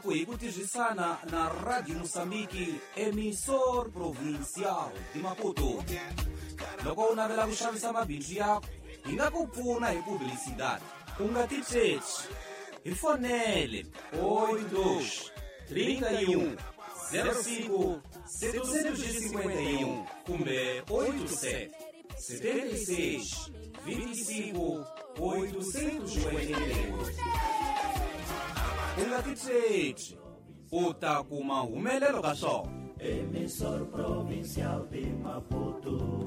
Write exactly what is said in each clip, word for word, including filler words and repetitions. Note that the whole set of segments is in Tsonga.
Hi ku tirhisana na Radio Moçambique, Emissor Provincial de Maputo. Loko u navela ku xavisa mabindzu yakho, hi nga ku pfuna hi publicidade. U nga titsheci. Hi fonele oito dois, trinta e um, zero cinco, setecentos e cinquenta e um kumbe oito sete, setenta e seis, vinte e cinco, oitocentos e oitenta e oito. U nga titsheci, u ta kuma humelelo ka swona. Emissor Provincial de Maputo.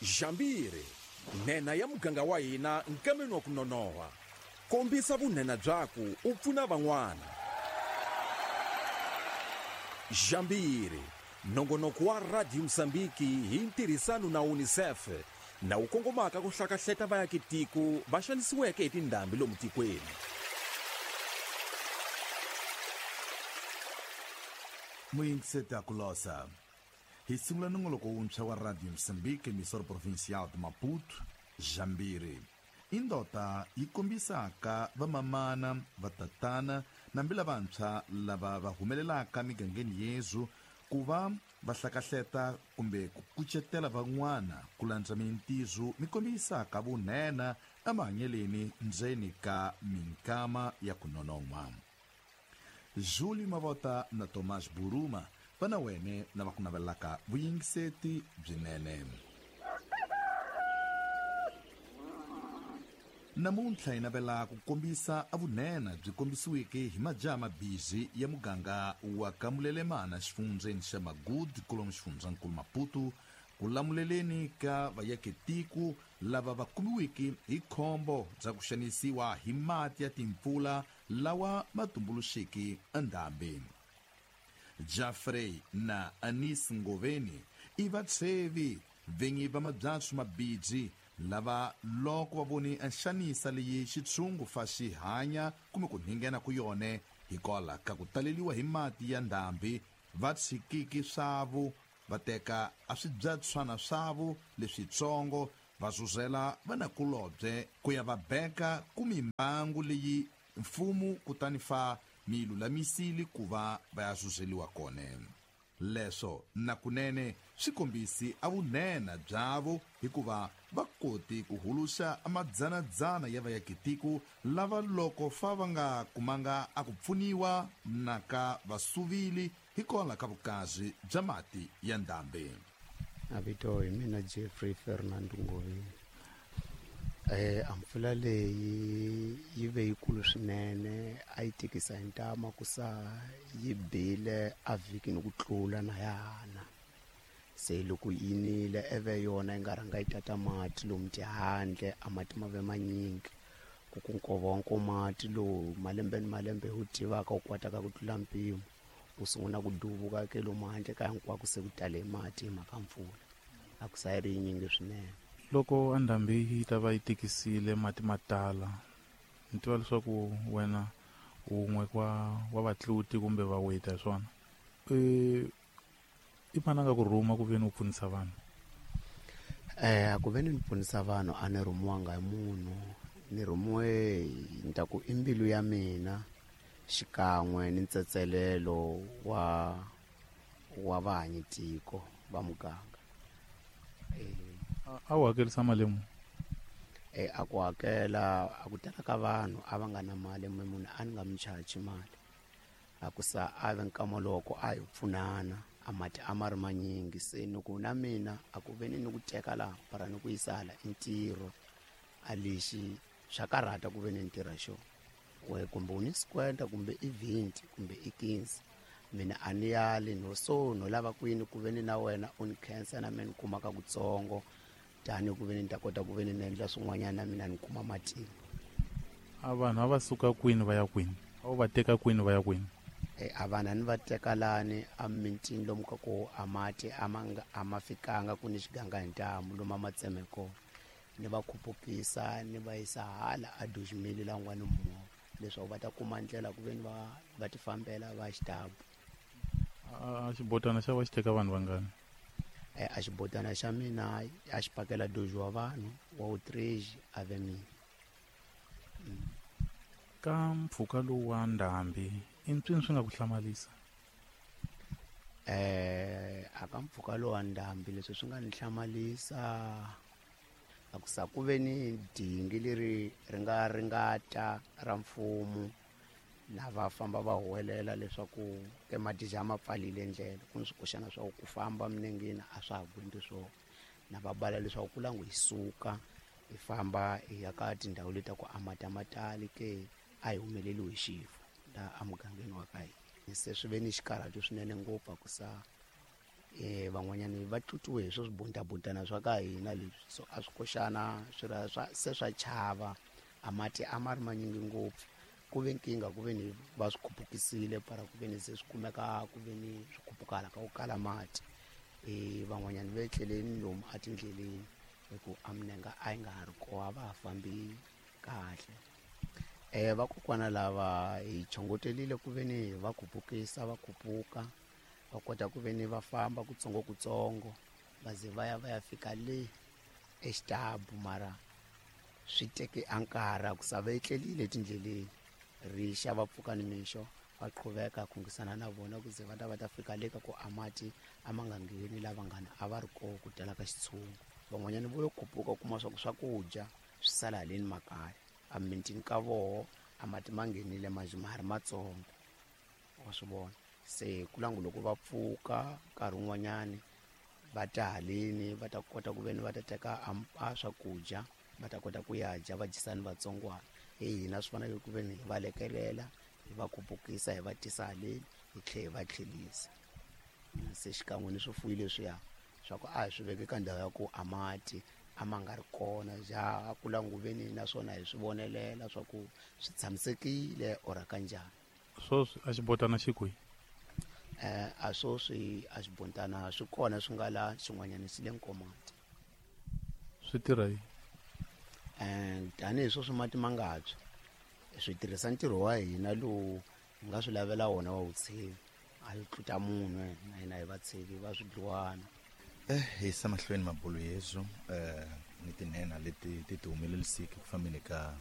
Jambiri, nhenha ya muganga wa hina nkameni wa ku nonoha. Kombisa vunhenha byaku u pfuna van'wana. Jambiri, nongonoko wa Radio Moçambique hi ntirhisano na UNICEF na wu kongomaka ku hlakahleta vaakitiko va xanisiweke hi tindhambi lomu tikweni. Muyingiseti kulosa. Hi sungula nongoloko wuntshwa wa Radio Moçambique, Emissor Provincial de Maputo, Jambiri. Indota yi kombisaka vamamana, vatatana nambi lavantshwa lava va humelelaka migangeni yezu ku va va hlakahleta kumbe ku kucetela van'wana ku landza mintizo mi kombisaka vunhenha emahanyeleni ndzeni ka minkama ya ku nonon'hwa. Júlio Mavota na Tomás Buruma va na wene na va ku navelaka vuyingiseti byinene. Namuntlha hi navela ku kombisa avunhenha byi kombisiweke hi majaha mabizhi ya muganga wa Kamulelemana xifundzeni xa Magudu kolomu xifundzankulu Maputo ku lamuleleni ka vayaketiko lava va kumiweke hi khombo bya ku xanisiwa hi mati ya timpfula lawa ma tumbuluxeke endhambi. Jeffrey na Anis Ngoveni i vatshevi vinyi va mabyatsu mabidzi lava loko va voni nxanisa leyi xitshungu fa xi hanya kumbe ku nghena ku yone hikwalaho ka ku taleliwa hi mati ya ndhambi va tshikiki swavu va teka a swibyatswana swavu leswitsongo va zuzela vanakulobye ku ya va beka ku mimbangu leyi mfumo kutani fa mi lulamisile ku va va ya zuzeliwa kona. Leswo na kunene swi kombisi a vunhenha byavo hikuva va koti ku huluxa amadzanadzana ya vayakitiko lava loko fa va nga kumanga a ku pfuniwa na ka vasuvili hikwalaho ka vukazi bya mati ya ndhambi. A vito hi mina Jeffrey Fernando Ngoveni. Eh a mpfula leyi yi ve yikulu swinene, a yi tikisa hi ntama ku sa yi bile a vhikini ku tlula na yana. Se loko yi nile eve yona yi nga rhanga yi tata mati lomu tihandle, a mati ma ve manyingi ku ku nkova wa nkomati lowu malembe ni malembe wu tivaka wu kwataka ku tlula mpimo wu sungula ku duvuka ke lomu handle ka hinkwako se ku tale mati hi mhaka mpfula a ku sa yi ri yinyingi swinene. Loko andhambi yi ta va yi tikisile mati ma tala, ni tiva leswaku wena wun'we wa wa vatluti kumbe vaweta hi swona, e i mani a nga ku rhuma ku ve ni u pfunisa vanhu? Eh ku ve ni ni pfunisa vanhu a ni rhumiwanga hi munhu, ni rhumiwe ni ta ku i mbilu ya mina xikan'we ni ntsetselelo wa wa vahanyitiko va muganga. Eh a wu hakerisa mali muni? Eh a ku hakela a ku tala ka vanhu a va nga na mali, munhu a ni nga mi chaji mali. A ku sa a ve nkama loko a hi pfunana a mati a ma ri manyingi, se ni ku na mina a ku ve ni ni ku teka laha para ni ku yisa hala i ntirho a lexi swa karhata ku ve ni ntirha xo we kumbe u ni sikwenda kumbe i vhinti kumbe i quinze, mina a ni yali no so no lava kwini ku ve ni na wena u ni khensa na mina ni kumaka kutsongo tani ku ve ni ta kota ku ve ni ni endla swin'wanyana na mina ni kuma matimba. A vanhu a va suka kwini va ya kwini? A wu va teka kwini va ya kwini? E a vanhu a ni va teka lani a mintini lomu ka ku a mati a ma nga a ma fikanga ku ni xiganga hi ntamu lomu a ma tseme kona, ni va khupukisa ni va yisa hala a Dojimili la n'wana movha leswaku va ta kuma ndlela ku ve ni va va ti fambela va xitabu. A xibotana xa va xi teka vanhu vangani? Eh a xibotana xa mina a xi pakela doji wa vanhu wa outrage a ve mina. Ka mpfhuka lowu wa ndhambi i mpyini swi nga ku hlamalisa? Eh aka mpfhuka lowu wa ndhambi leswi swi nga ni hlamalisa a ku sa ku ve ni dingi leri ri nga ringata ra mfumo lava famba va huwelela leswaku ke madija ma pfalile ndlela ku ni swikoxana swa ku famba minengeni a swa ha gwindi swona na va bala leswaku ku langu hi suka hi famba hi ya ka tindhawu leti ta ku a mati a ma tali ke a hi humeleliwi hi xifo la emugangeni wa ka hina. Se swi ve ni xikarhato swinene ngopfu a ku sa eh van'wanyana va tlutiwe hi swo swibuntabutana swa ka hina leswi so a swi koxana swi ra swa se swa chava a mati a ma ri manyingi ngopfu ku ve nkingha ku ve ni va swi khupukisile para ku ve ni se swi kumeka ku ve ni swi khupukala ka ku kala mati eh van'wanyana va etleleni lomu etindleleni hi ku a minenga a yi nga ha ri kona va ha fambi kahle. Eh vakokwana lava hi chongotelile ku ve ni va khupukisa va khupuka va kota ku ve ni va famba kutsongo kutsongo va ze va ya va ya fika le exitabu mara swi teke a nkarhi ku sa va etlelile etindleleni rixa va pfuka nimixo va qhuveka khungisana na vona ku ze va ta va ta fika le ka ku a mati a ma nga ngheni lava ngana a va ri kona ku tala ka xitshungu. Van'wanyana vo yo khupuka u kuma swa ku swakudya swi sala haleni makaya a mintini ka voho a mati ma nghenile manjhe ma ha ri matsongo wa swi vona. Se ku langu loko va pfuka nkarhi wun'wanyani va ta haleni va ta kota ku ve ni va ta teka a swakudya va ta kota ku ya dya va dyisani vatsongwana hi hina swi fanele ku ve ni hi va lekelela hi va khupukisa hi va tisa haleni hi tlhela hi va tlhelisa. Se xikan'we ni swifuwo leswiya swa ku a hi swi veke ka ndhawu ya ku a mati a ma nga ri kona ja ku languveni naswona hi swi vonelela swa ku swi tshamisekile or kanjhani. Sweswi a xibotana xi kwihi? Eh a sweswi a xibotana swi kona swi nga la xin'wanyana xi le Nkomati. Swi tirha yini? Eh tanihi sweswi mati ma nga tshwa swi tirhisa ntirho wa hina lowu hi nga swi lavela wona wa vutshevi a yi tluta munhu na hina hi vatshevi va swidluwana. Eh hi yisa mahlweni mabulo yezu eh ni tinhena leti ti ti humelelisiki ku fambeni ka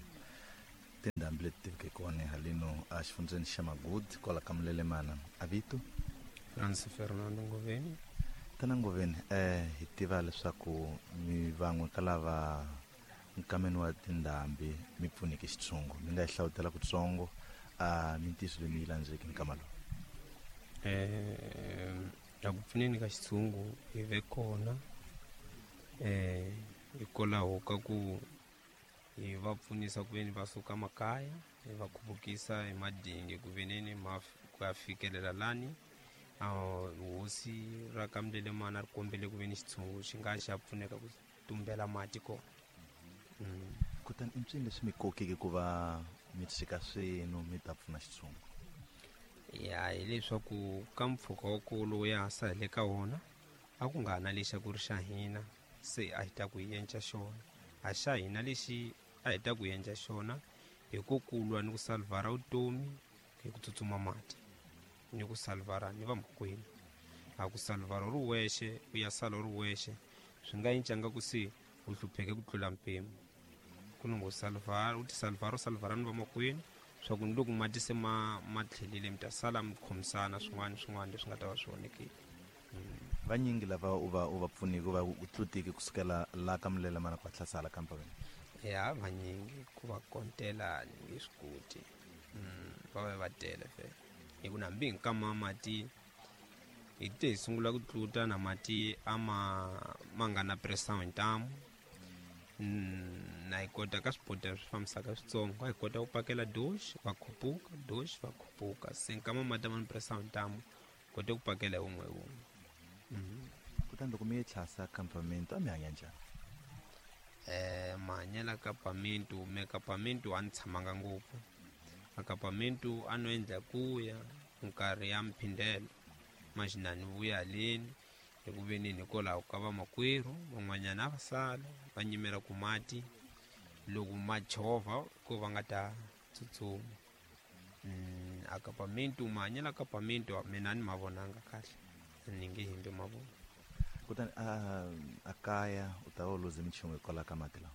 tindhambi leti tiveke kona haleno a xifundzeni xa Magudu kwala ka Mulelemana. A vito Francis Fernando Ngoveni. Tana Ngoveni, eh hi tiva leswaku mi van'we ka lava nkameni wa tindhambi mi pfuneke xitshungu mi nga hi hlawutela kutsongo a mintiso leyi mi yi landzeke nkama lowu? Eh la ku pfuneni ka xitshungu hi ve kona eh hikwalaho ka ku hi va pfunisa ku veni va suka makaya hi va khupukisa hi madingi ku veneni ma ku ya fikelela lani a hosi ra ka Mulelemana ri kombele ku veni xitshungu xi nga xa pfuneka ku tumbela mati kona. Mm. Kutani i mpyini leswi mi kokeke ku va mi tshika swinu mi ta pfuna xitshungu? Ya hileswaku ka mpfhuka wa ku lowu ya ha sa ka wona a ku nga ha na lexi a ku ri xa hina se a hi ta ku hi endla xona a xa hina lexi a hi ta ku endla xona hi ku kulwa ni ku salvara vutomi hi ku tsutsuma mati ni ku salvara ni vamakwenu a ku salvara u ri wexe u ya sala u ri wexe swi nga cincanga ku se u hlupheke ku tlula mpimo ku ni ngo salvara u ti salvara u salvara ni vamakwenu swa ku ni loko mati se ma ma tlhelile mi ta sala mi khomisana swin'wana swin'wana leswi nga ta va swi onhekile. Vanyingi lava u va u va pfuniki va u tlutiki kusukela la ka Mulelemana ku hatlasala ka mpaveni? Ya vanyingi ku va kontela ni nge swi koti va va va tele fela hi ku nambi hi nkama mati hi te hi sungula ku tluta na mati a ma ma nga na pressure hi ntamu na hi kota ka swibodela swi fambisaka switsongo a hi kota ku pakela doxi va khupuka doxi va khupuka se nkama mati a ma ni pressure hi ntamu kote ku pakela hi wun'we hi wun'we. Kutani loko mi yi tlhasa campamento a mi hanya njhani? Eh mahanyelo campamento me campamento a ni tshamanga ngopfu a campamento a no endla ku ya nkarhi ya mphindelo maxinani vuya haleni hi ku veneni hikwalaho ka vamakwerhu van'wanyana a va sala va nyimela ku mati loko ma chovha ko va nga ta tsutsuma. A campamento mahanyelo campamento mina a ni ma vonanga kahle ni nge hembi ma vona. Kutani a a kaya u ta va u luze minchumu hikwalaho ka mati lawa?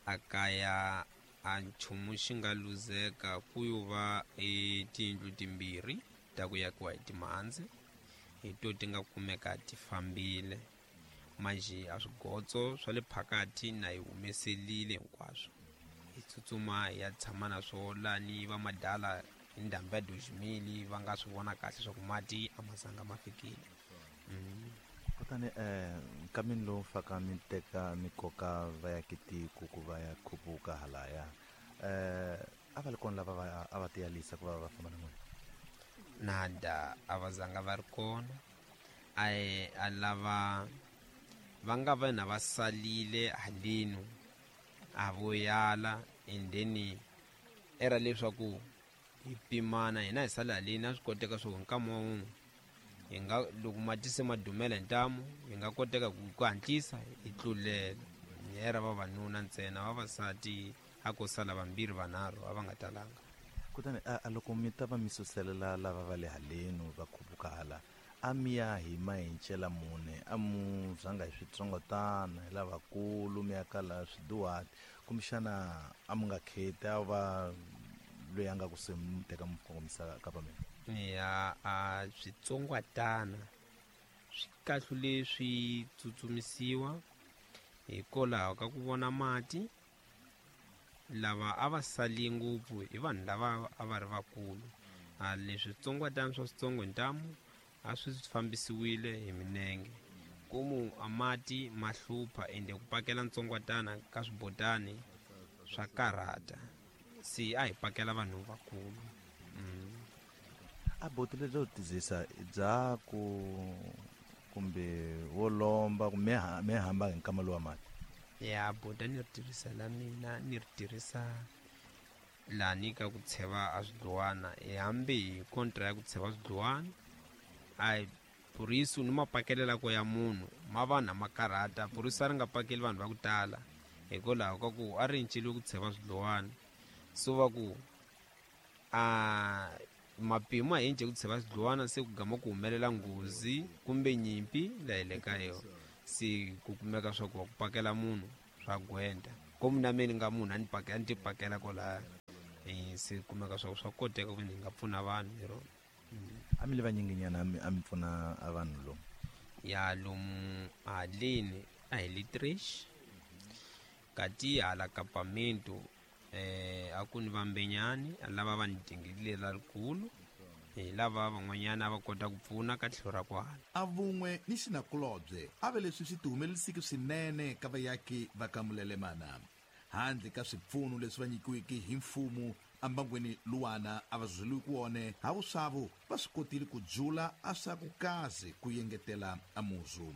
A kaya A nchumu xi nga luzeka ku yo va e tiyindlu timbirhi ta ku yakiwa hi timhandzi, hi to ti nga kumeka ti fambile. Manjhe a swigotso swa le phakathi na hi humeselile hinkwaswo, hi tsutsuma hi ya tshama na swo lani va madala hi ndhambi ya Dozimili va nga swi vona kahle swa ku mati a ma zanga ma fikile. Mm. Kutani eh nkamini lowu faka mi teka mi koka va ya kitiko ku va ya khupuka halaya, eh a va ri kona lava va a va tiyalisa ku va va famba na n'wina? Nada, a va zanga va ri kona. A a lava va nga va na va salile halenu a vo yala, and then era leswaku hi pimana hina hi sala haleni a swi koteka swo nkama wun'we hi nga loko mati se ma dumela hi ntamu hi nga koteka ku ku hatlisa hi tlulela. Era vavanuna ntsena, vavasati a ko sala vambirhi vanharhu a va nga talanga. Kutani a loko mi ta va mi suselela lava va le halenu va khupuka hala, a mi ya hi mahencela mune, a mu zanga hi switsongotana hi lavakulu mi ya kala swiduhati, kumbexana a mu nga kheti a va loyi a nga ku se mi teka mi kongomisa ka va mina? Ya, a switsongwatana swi kahlule swi tsutsumisiwa hikwalaho ka ku vona mati. Lava a va sali ngopfu i vanhu lava a va ri vakulu. A leswi switsongwatana swa switsongo hi ntamu a swi fambisiwile hi minenge, komu a mati ma hlupha ende ku pakela ntsongwatana ka swibotani swa karhata, se a hi pakela vanhu vakulu. Mm. A boti lebyo tizisa bya ku kumbe wo lomba kumbe me hamba hi nkama lowa mati? Ya, bota ni ri tirhisa la mina ni ri tirhisa lani ka ku tsheva a swidluwana, hi hambi hi kontra ya ku tsheva swidluwana. A purisu ni mapakelela ko ya munhu ma vanhu ma karhata, purisu a ri nga pakeli vanhu va ku tala hikwalaho ka ku a ri enceliwe ku tsheva swidluwana. So va ku a mapimo a ence ku tsheva swidluwana se ku gama ku humelela nghozi kumbe nyimpi laha hi le ka yona, se ku kumeka swa ku va ku pakela munhu swa gwenda. Komu na mina ni nga munhu a ni pakela ni ti pakela kwalaya, eh se kumeka swa ku swa koteka ku ni nga pfuna vanhu hi rona. A mi le vanyinginyana a mi pfuna a vanhu lomu? Ya, lomu haleni a hi le Trish, kati hala kapamento eh a ku ni vambenyani lava va ni dingile lerikulu, hi lava van'wanyana va kota ku pfuna ka tlhelo ra kwala. A vun'we ni xinakulobye a ve leswi swi tihumelerisiki swinene ka vayaki va ka Mulelemana, handle ka swipfuno leswi va nyikiweke hi mfumo ambangweni luwana a va zweliwi wone ha vuswavu va swi kotile ku jula a swa ku kaze ku yengetela a muzu.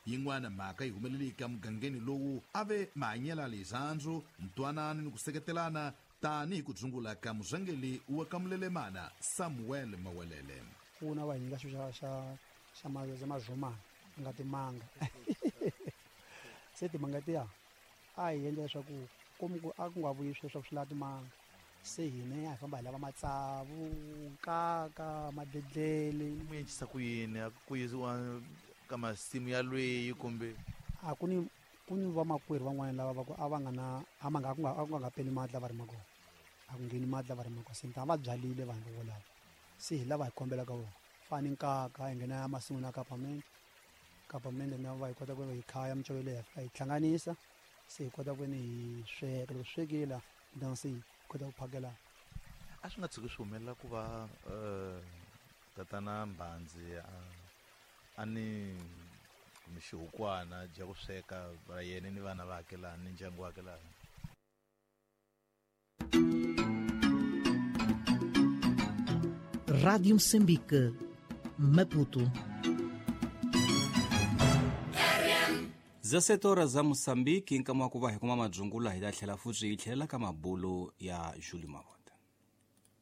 Yin'wana mhaka yi humeleleke emugangeni lowu a ve mahanyelo lezandzu, ntwanano ni ku seketelana tanihi ku dzungula ka muzangeli wa ka Mulelemana Samuel Mawelele. Pfuna va hi nyika xilo xa xa xa xa mazhumana nga timanga. Se timanga tiya a hi endla leswaku komu ku a ku nga vuyi sweswo swi lava timanga, se hina a hi famba hi lava matsavu, nkaka, madedlele. Mu encisa ku yini? A ku yisiwa ka masimu ya lweyi kumbe? A ku ni ku ni vamakwerhu van'wana lava va ku a va nga na a ma nga ku nga a ku nga peli mati lava rimaka kona, a ku ngheni mati lava rimaka kona, se a va byalile vanhu volavo, se hi lava hi kombelaka vona. Fani nkaka hi nghena ya masin'wini ya kapamende, kapamende na va hi kota ku hi khaya micovelo leyi hi fika hi hlanganisa, se hi kota ku ni hi sweka. Loko swekile then se hi kota ku phakela. A swi nga tshuki swi humelela ku va tatana Mbhandzi a a ni kumbe xihukwana dya ku sweka va yena ni vana va laha ni ndyangu wa laha? Rádio Moçambique, Maputo. dezessete horas za Moçambique, nkama wa ku va hi kuma madzungula hi ta tlhela futhi hi tlhelela ka mabulo ya Julie Mavona.